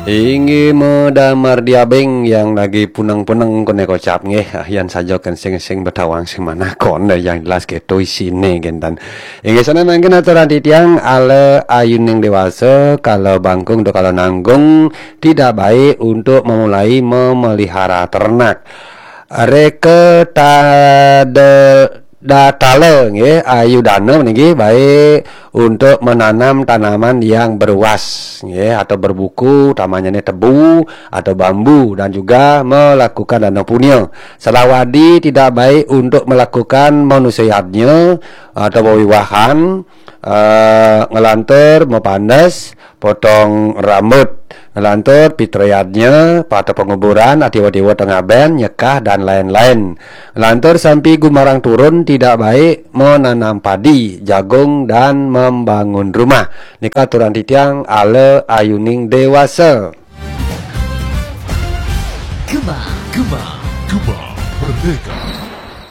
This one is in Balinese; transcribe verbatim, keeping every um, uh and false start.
Inggih, medamar diabeng yang lagi puneng-puneng koné kocap nggih. Ah, yan saja kan sing sing betawang sing manah koné yang jelas gitu isine gentan. Inggih sana mangkin aturan titiang ala ayuning dewasa kalau bangkung atau kalau nanggung tidak baik untuk memulai memelihara ternak. Reka tada datala nggih, ayu dana nggih baik untuk menanam tanaman yang beruas nggih atau berbuku, utamanya ini tebu atau bambu, dan juga melakukan dana punya. Selawadi tidak baik untuk melakukan manusia yadnya atau wewiwahan, eh, ngelantur, mepandes, potong rambut, ngelantur, pitrayadnya, patah penguburan, atiwa-tiwa tengah ben, nyekah, dan lain-lain. Ngelantur sampai gumarang turun tidak baik menanam padi, jagung, dan membangun rumah. Nika aturan titiang ala ayuning dewasa. Gema, Gema, Gema Merdeka.